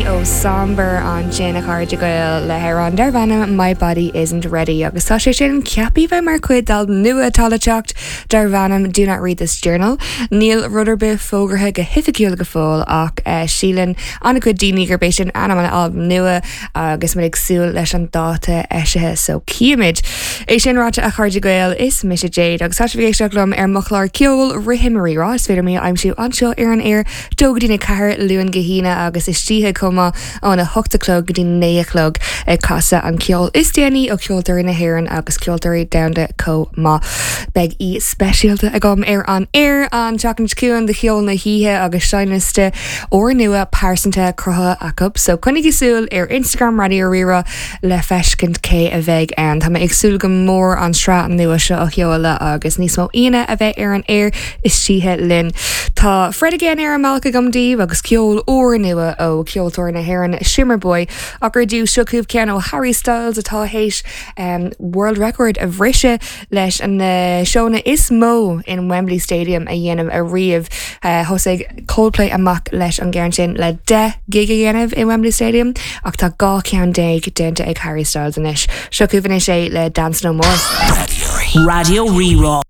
Danny ó Somber ansin a chairde Gael le hamhrán darb ainm My Body Isn't Ready agus tá sé sin ceaptha bheith mar chuid d'albam nua atá le teacht darb ainm Do Not Read This Journal. Níl rud ar bith fógartha go hoifigiúil go fóill ach síleann an-chuid daoine gurb é sin ainm an albaim nua agus muid ag súil leis an dáta eisithe so cífimid. É sin ráite a chairde Gael, is mise Jade agus tá sibh ag éisteacht liom ar mo chlár ceoil Rithim Rírá. Is féidir mé a aimsiú anseo ar an aer 2 go dtí 4 Luan go hAoine agus istoíche chomh maith óna 8 a chlog go dtí 9 a chlog ag casadh an ceol is déanaí ó cheoltóirí na hÉireann agus ceoltóirí domhanda chomh maith. Beidh aoi speisialta agam ar an aer an tseachtain seo chugainn do cheol na hoíche agus seinnliosta úrnua pearsanta cruthaithe acu so coinnigí súil ar Instagram Raidió Rí-Rá le feiscint cé a bheidh ann. Tá mé ag súil go mór an tsraith nua seo a sheoladh agus níos mó aíonna a bheith ar an aer istoíche linn. Tá Fred Again ar an mbealach agam daoibh agus ceol úrnua ó cheoltóir na hÉireann Shimmerboy ach ar dtús seo chugaibh ceann ó Harry Styles atá théis World Record a bhriseadh leis na seónna is mó in Wembley Stadium a dhéanamh ariamh. Thosaigh Coldplay amach leis an gceann sin le 10 gig a dhéanamh in Wembley Stadium ach tá 12 ceann déanta ag Harry Styles anois. Seo chugaibh anois é le Dance No More. Raidió Rí-Rá.